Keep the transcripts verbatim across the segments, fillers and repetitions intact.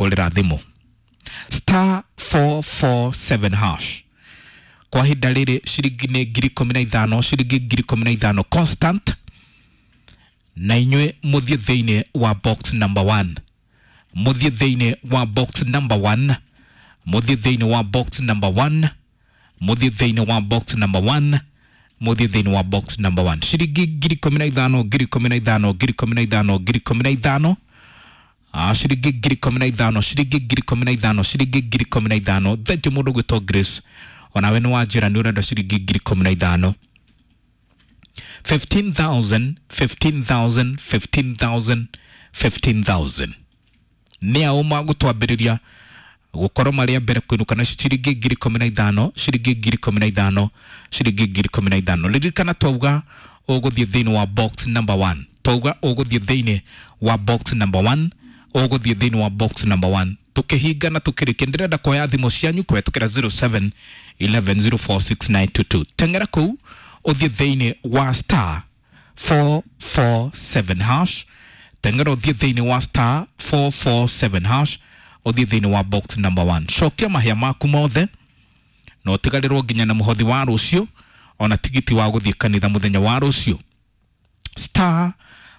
Ũrĩra thimũ star four four seven hash. Kwa ihinda rĩrĩ ciringi nĩ ngiri ikũmi na ithano, ciringi ngiri ikũmi na ithano constant, na inyuĩ mũthiĩ thĩinĩ wa box number one, mũthiĩ thĩinĩ wa box number one, mũthiĩ thĩinĩ wa box number one, mũthiĩ thĩinĩ wa box number one, mũthiĩ thĩinĩ wa box number one. Ciringi ngiri ikũmi na ithano, ngiri ikũmi na ithano, ngiri ikũmi na ithano, ngiri ikũmi na ithano. Ah, ciringi ngiri ikũmi na ithano, ciringi ngiri ikũmi na ithano, ciringi ngiri ikũmi na ithano. Thank you mũndũ gwĩtwo Grace, onawe nĩ wanjĩra nĩ ũrenda ciringi ngiri ikũmi na ithano. fifteen thousand, fifteen thousand, fifteen thousand, fifteen thousand. Nĩ ao magũtwambĩrĩria gũkorwo marĩ a mbere kũinũka na ciringi ngiri ikũmi na ithano, ciringi ngiri ikũmi na ithano, ciringi ngiri ikũmi na ithano. Ririkana twauga ũgũthiĩ thĩinĩ wa box number one, twauga ũgũthiĩ thĩinĩ wa box number one, ũgũthiĩ thĩinĩ wa box number one. Tukĩhinga na tukĩrĩkia, ndĩrenda kuoya thimũ cianyu kũhetũkĩra zero seven eleven zero four six nine two two. Teng'era kũu ũthiĩ thĩinĩ wa star four four seven hash. Teng'era ũthiĩ thĩinĩ wa star four four seven hash, ũthiĩ thĩinĩ wa box number one. Cokia mahĩa maku mothe na ũtigarĩrwo nginya na mũhothi wa rũciũ, ona tigiti wa gũthiĩ kanitha mũthenya wa rũciũ. Star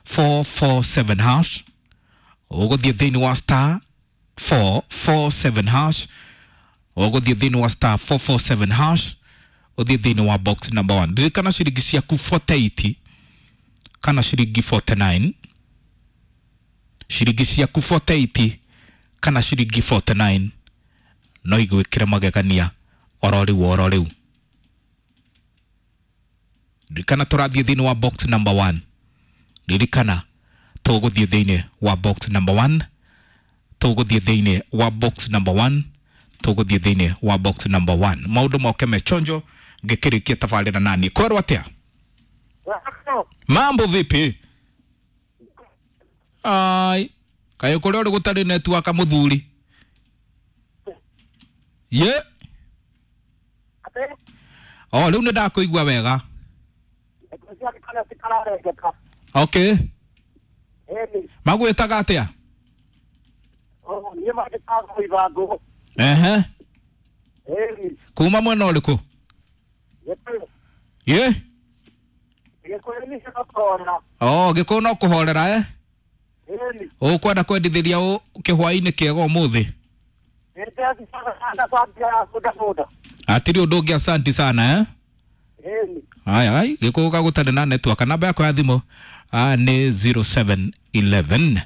four four seven hash, ũgũthiĩ thĩinĩ wa star four four seven hash, ũgũthiĩ thĩinĩ wa star four four seven hash, ũthiĩ thĩinĩ wa box number one. Ririkana ciringi ciaku forty-eight kana ciringi forty-nine, ciringi ciaku forty-eight kana ciringi forty-nine no igwĩkĩre magegania oro rĩu oro rĩu. Ririkana tũrathiĩ thĩinĩ wa box number one. Ririkana tũgũthiĩ thĩinĩ wa box number one, tũgũthiĩ thĩinĩ wa box number one, tũgũthiĩ thĩinĩ wa box number one. Maũndũ moke mechonjo ngĩkĩrĩkia tabarĩra nani. Kwerwo atĩa? Mambo vipi? Ai, kaĩ kũrĩa ũrĩ gũtarĩ network mũthuri? Ye? O, rĩu nĩ ndakũigua wega. Okay. Magwĩtaga atĩa? Ehe. Kuma mwena ũrĩkũ? Ye? Oh, Gĩkũyũ no kũhorera eh? Ũkwenda kwendithĩria ũ kĩhwaĩ-inĩ kĩega ũmũthĩ? Hatirĩ ũndũ ũngĩ, asanti sana eh? Aya, ai, Gĩkũyũ gagũtarĩ na network. Namba yakwa ya thimũ ah, nĩ zero seven eleven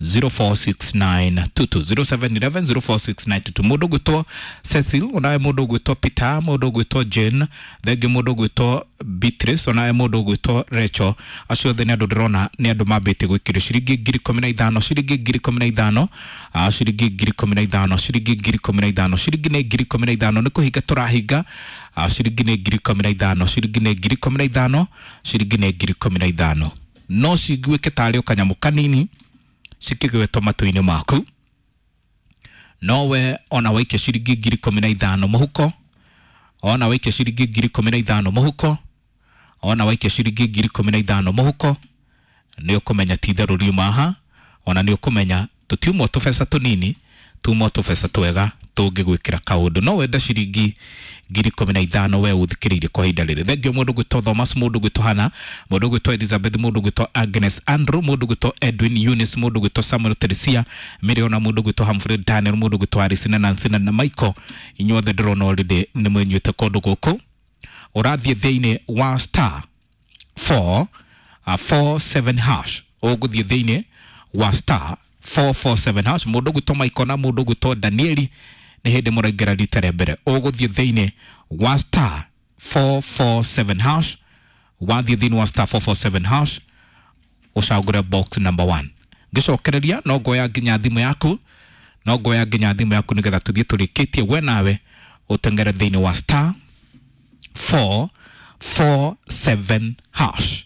zero four six nine two two, zero seven eleven zero four six nine two two. Mũndũ ũgwĩtwo Cecil, onawe mũndũ ũgwĩtwo Peter, mũndũ ũgwĩtwo Jane, thengi mũndũ ũgwĩtwo Beatrice, onawe mũndũ ũgwĩtwo Rachel. Acio othe nĩ andũ ndĩrona nĩ andũ mambĩtie gwĩkĩrio ciringi ngiri ikũmi na ithano, ciringi ngiri ikũmi na ithano, ah, ciringi ngiri ikũmi na ithano, ciringi ngiri ikũmi na ithano, ciringi nĩ ngiri ikũmi na ithano. Nĩ kũhinga tũrahinga, ah, ciringi nĩ ngiri ikũmi na ithano, ciringi nĩ ngiri ikũmi na ithano, ciringi nĩ ngiri ikũmi na ithano. No ciguĩke tarĩ o kanyamũ kanini cikĩgwetwo matũ-inĩ maku. Nowe ona waikia ciringi ngiri ikũmi na ithano mũhuko, ona waikia ciringi ngiri ikũmi na ithano mũhuko, ona waikia ciringi ngiri ikũmi na ithano mũhuko, nĩ ũkũmenya ti itherũ riuma haha, ona nĩ ũkũmenya tũtiumwo tũbeca tũnini, tumwo tũbeca twega tũngĩgwĩkĩra kaũndũ. No wenda ciringi ngiri ikũmi na ithano we ũthikĩrĩirie kwa ihinda rĩrĩ. Thengiũ mũndũ gwĩtwo Thomas, mũndũ gwĩtwo Hannah, mũndũ gwĩtwo Elizabeth, mũndũ gwĩtwo Agnes Andrew, mũndũ gwĩtwo Edwin Eunice, mũndũ gwĩtwo Samuel Teresia Miriona, mũndũ gwĩtwo Humphrey Daniel, mũndũ gwĩtwo Alice na Nancy na Michael. Inyuothe ndĩrona already nĩ mwenyuĩte kũndũ gũkũ. Ũrathiĩ thĩinĩ wa star four, uh, four seven hash, ũgũthiĩ thĩinĩ wa star four four seven hash. Mũndũ gwĩtwo Michael na mũndũ gwĩtwo Danieli nĩ hĩndĩ mũraingĩra rita rĩa mbere. Ũgũthiĩ thĩinĩ wa star four four seven hash, wathiĩ thĩinĩ wa star four four seven hash ũcagũre box number one. Ngĩcokereria no ngoya nginya thimũ yaku, no ngoya nginya thimũ yaku nĩgetha tũthiĩ tũrĩkĩtie we nawe ũteng'ere thĩinĩ wa star four four seven hash.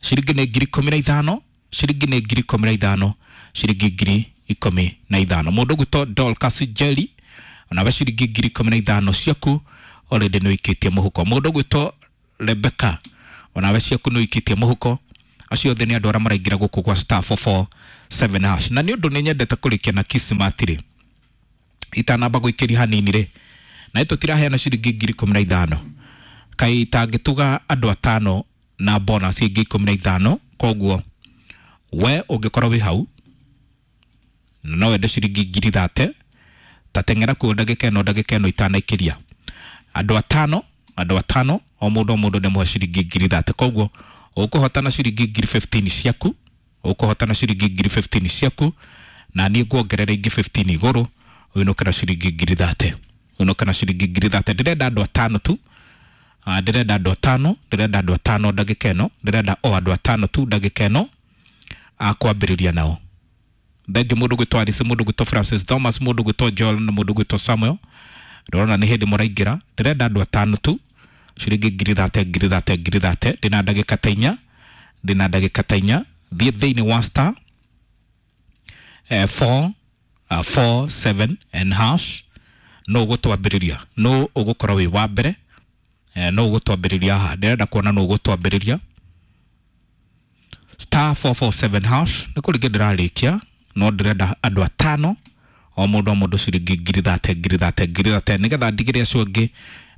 Ciringi nĩ ngiri ikũmi na ithano, ciringi nĩ ngiri ikũmi na ithano, ciringi ngiri ikũmi na ithano. Mũndũ ũgwĩtwo Dorcas Jerry, onawe ciringi ngiri ikũmi na ithano ciaku already nĩ ũikĩtie mũhuko. Mũndũ ũgwĩtwo Rebecca, onawe ciaku nĩ ũikĩtie mũhuko. Acio othe nĩ andũ arĩa maraingĩra gũkũ gwa star four four seven hash. Na nĩ ũndũ nĩ nyendete kũrĩkia na Kismat rĩ, itanamba gũikĩria hanini rĩ, na tũtiraheana ciringi ngiri ikũmi na ithano, kaĩ itangĩtuga andũ atano na bonus ĩngĩ ikũmi na ithano. Koguo we ũngĩkorwo wĩ hau na no wende ciringi ngiri thate, ta teng'era kuo ndagĩka ĩno, ndagĩka ĩno itanaikĩria andũ atano, andũ atano, o mũndũ o mũndũ nĩ mũhe ciringi ngiri thate. Koguo ũkũhotana ciringi ngiri fifteen ciaku, ũkũhotana ciringi ngiri fifteen ciaku, na niĩ nguongerera ingĩ fifteen igũrũ, ũinũke na ciringi ngiri thate, ũinũke na ciringi ngiri thate. Ndĩrenda andũ atano tu. Ah, ndĩrenda andũ atano, ndĩrenda andũ atano ndagĩka ĩno, ndĩrenda o andũ atano tu ndagĩka ĩno akwambĩrĩria nao. Thengiũ mũndũ gwĩtwo Alice, mũndũ gwĩtwo Francis Thomas, mũndũ gwĩtwo Joel na mũndũ gwĩtwo Samuel. Ndĩrona nĩ hĩndĩ mũraingĩra. Ndĩrenda andũ atano tu, ciringi ngiri thate, ngiri thate, ngiri thate. Ndĩna ndagĩka ta inya, ndĩna ndagĩka ta inya. Thiĩ thĩinĩ wa star eh, four, uh, four, seven and hash. No ũgũtwambĩrĩria, no ũgũkorwo wĩ wa mbere, eh, no ũgũtwambĩrĩria haha. Ndĩrenda kuona no ũgũtwambĩrĩria star four four seven hash. Nĩ kũrĩkia ndĩrarĩkia, no ndĩrenda andũ atano, o mũndũ o mũndũ ciringi ngiri thate, ngiri thate, ngiri thate, nĩgetha ndigĩre acio angĩ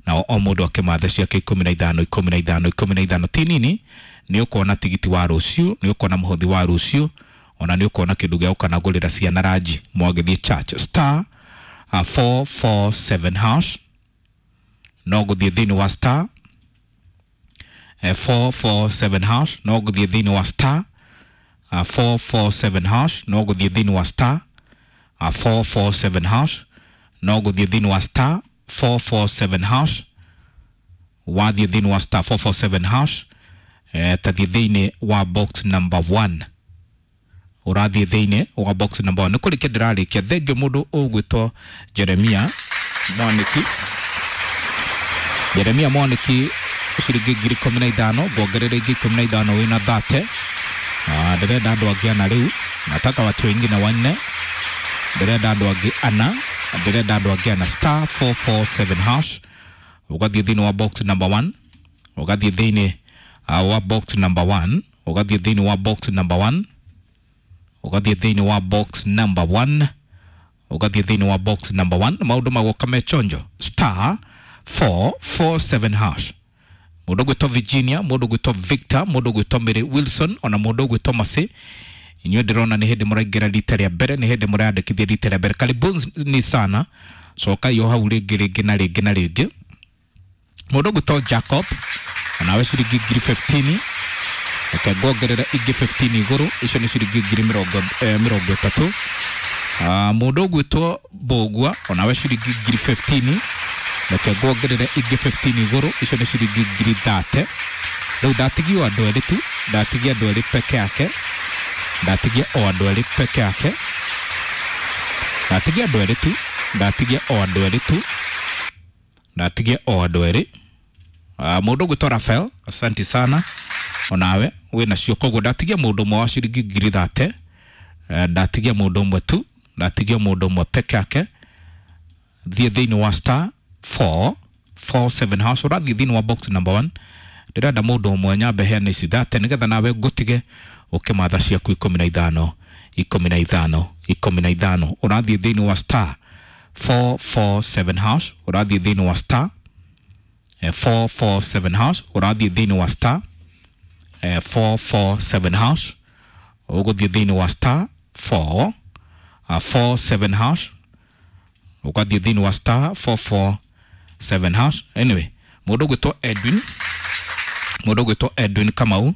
nao o mũndũ akĩmathe ciake ikũmi na ithano, ikũmi na ithano, ikũmi na ithano. Ti nini, nĩ ũkuona tigiti wa rũciũ, nĩ ũkuona mũhothi wa rũciũ, ona nĩ ũkuona kĩndũ gĩa gũkanagũrĩra ciana ranji mwagĩthiĩ church. Star uh, four four seven hash. No gũthiĩ thĩinĩ wa star eh, four four seven hash. No gũthiĩ thĩinĩ wa star uh, four four seven hash. No gũthiĩ thĩinĩ wa star uh, four four seven hash. No gũthiĩ thĩinĩ wa star four four seven hash. Wathiĩ thĩinĩ wa star four four seven hash, eh, tathiĩ thĩinĩ wa box number one. Ũrathiĩ thĩinĩ wa box number one. Nĩ kũrĩkia ndĩrarĩkia. Thengiũ mũndũ ũgwĩtwo Jeremia Mwaniki. Jeremia Mwaniki ciringi ngiri ikũmi na ithano, nguongerera ingĩ ikũmi na ithano wĩna thate. Ah, ndĩrenda andũ angĩ ana rĩu, nataka watu wengine wanne. Ndĩrenda andũ angĩ ana, ndĩrenda andũ angĩ ana. Star four four seven hash. Ũgathiĩ thĩinĩ wa box number one, ũgathiĩ thĩinĩ uh, wa box number one, ũgathiĩ thĩinĩ wa box number one, ũgathiĩ thĩinĩ wa box number one, ũgathiĩ thĩinĩ wa box number one. Maũndũ magoka me chonjo. Star four four seven hash. Mũndũ ũgwĩtwo Virginia, mũndũ ũgwĩtwo Victor, mũndũ ũgwĩtwo Mary Wilson, ona mũndũ ũgwĩtwo Masi. Inyuĩ ndĩrona nĩ hĩndĩ mũraingĩra rita rĩa mbere, nĩ hĩndĩ mũrayandĩkithia rita rĩa mbere. Karibuni sana. Cokai o hau rĩngĩ rĩngĩ na rĩngĩ na rĩngĩ. Mũndũ ũgwĩtwo Jacob, onawe ciringi ngiri fifteen. Reke nguongerere ingĩ fifteen igũrũ, icio nĩ ciringi ngiri mĩrongo, eh, mĩrongo ĩtatũ. Ah, mũndũ ũgwĩtwo Mbũgua, onawe ciringi ngiri fifteen. Reke nguongerere ingĩ fifteen igũrũ, icio nĩ ciringi ngiri thate. Rĩu ndatigio andũ erĩ tu, ndatigia andũ erĩ peke yake, ndatigia o andũ erĩ peke yake, ndatigia andũ erĩ tu, ndatigia o andũ erĩ tu, ndatigia o andũ erĩ. Ah, mũndũ ũgwĩtwo Rafael, asante sana, onawe wĩna cio. Koguo ndatigia mũndũ ũmwe wa ciringi ngiri thate, eh, ndatigia mũndũ ũmwe tu, ndatigia mũndũ ũmwe peke yake. Thiĩ thĩinĩ wa star four four seven hash, ũrathiĩ thĩinĩ wa box number one. Ndĩrenda mũndũ ũmwe nyambe heane ici thate nĩgetha nawe ngũtige ũkĩmatha ciaku ikũmi na ithano, ikũmi na ithano, ikũmi na ithano. Ũrathiĩ thĩinĩ wa star four four seven hash, ũrathiĩ thĩinĩ wa star eh, four four seven hash, ũrathiĩ thĩinĩ wa star eh, four four seven hash, ũgũthiĩ thĩinĩ wa star four, uh, four seven hash, ũgathiĩ thĩinĩ wa star four four seven hash. Anyway, mũndũ ũgwĩtwo Edwin, mũndũ ũgwĩtwo Edwin Kamau,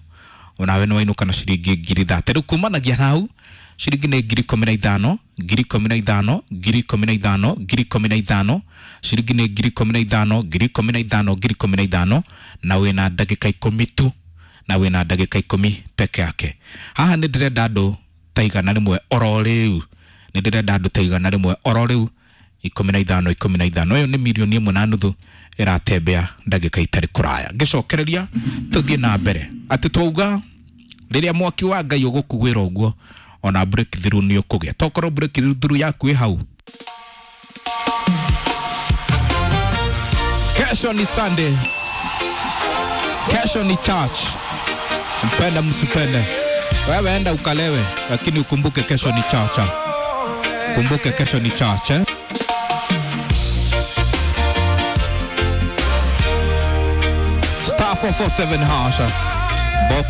onawe nĩ wainũka na ciringi ngiri thate. Rĩu kumanagia hau ciringi nĩ ngiri ikũmi na ithano, ngiri ikũmi na ithano, ngiri ikũmi na ithano, ngiri ikũmi na ithano, ciringi nĩ ngiri ikũmi na ithano, ngiri ikũmi na ithano, ngiri ikũmi na ithano, na wĩna ndagĩka ikũmi tu, na wĩna ndagĩka ikũmi peke yake. Haha nĩ ndĩrenda andũ ta igana rĩmwe oro rĩu, nĩ ndĩrenda andũ ta igana rĩmwe oro rĩu, ikũmi na ithano, ikũmi na ithano. Ĩyo nĩ mirioni ĩmwe na nuthu ĩratembea ndagĩka itarĩ kũraya. Ngĩcokereria tũthiĩ na mbere atĩ twauga rĩrĩa mwaki wa Ngai ũgũkuĩra ũguo, ona breakthrough nĩ ũkũgĩa. Tokorwo breakthrough yaku ĩ hau. Kesho ni Sunday, kesho ni church, Mpenda msipende, wewe enda ukalewe, lakini ukumbuke kesho ni chacha. Kumbuke kesho ni chacha. Star four four seven hash, box.